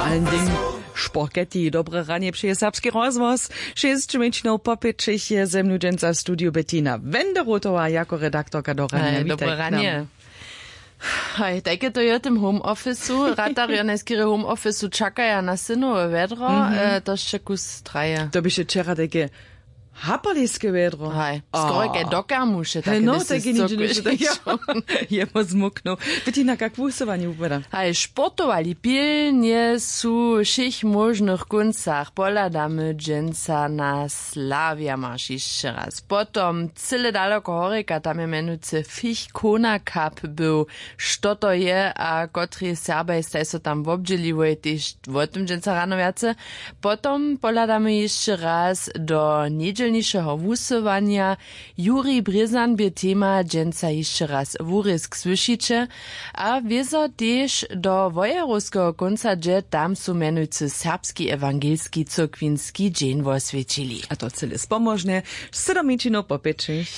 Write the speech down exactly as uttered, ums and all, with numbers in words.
Ending. Šporketi dobre ranje přeje serbski rozhłos. Šěsć mjeńšinow po pěćich je ze mnu dźensa w studiju Bettina Wenderotowa jako redaktorka do ranja. Hej, dobre ranje. Haj, tajke to je w tym home office'u. Ratarjo najskerje home office'u čakaja na synowe wjedro. Mhm. E, to sće kus traje. To běše wčera tajke hapaliske wjedro. Haj, skoraj kaj do kermuše. Hej, no, tajke ničo. Jemo zmuknął. Bettina, kak wusyłanje wupada? Haj, sportowali pilnje su w wšěch móžnych kóncach. Pohladamy dźensa na Slavia marš hišće raz. Potom cyle daloko horjeka, tam je mjenujcy Fich Kona Cup był. Što to je a kotrej Serbaj staj so tam wobdźěliłoj, tež wo tym dźensa rano wjace. Potom pohladamy hišće raz do njedźelnišeho wusyłanja. Jurij Brězan bě tema, dźensa hišće raz wurězk słyšiće. A wězo tež do wojerowskeho kónca, hdźe tam su mjenujcy serbski ewangelski cyrkwinski dźeń woswjećili. A to cyle spomožnje. Sydomničinow po pěćich.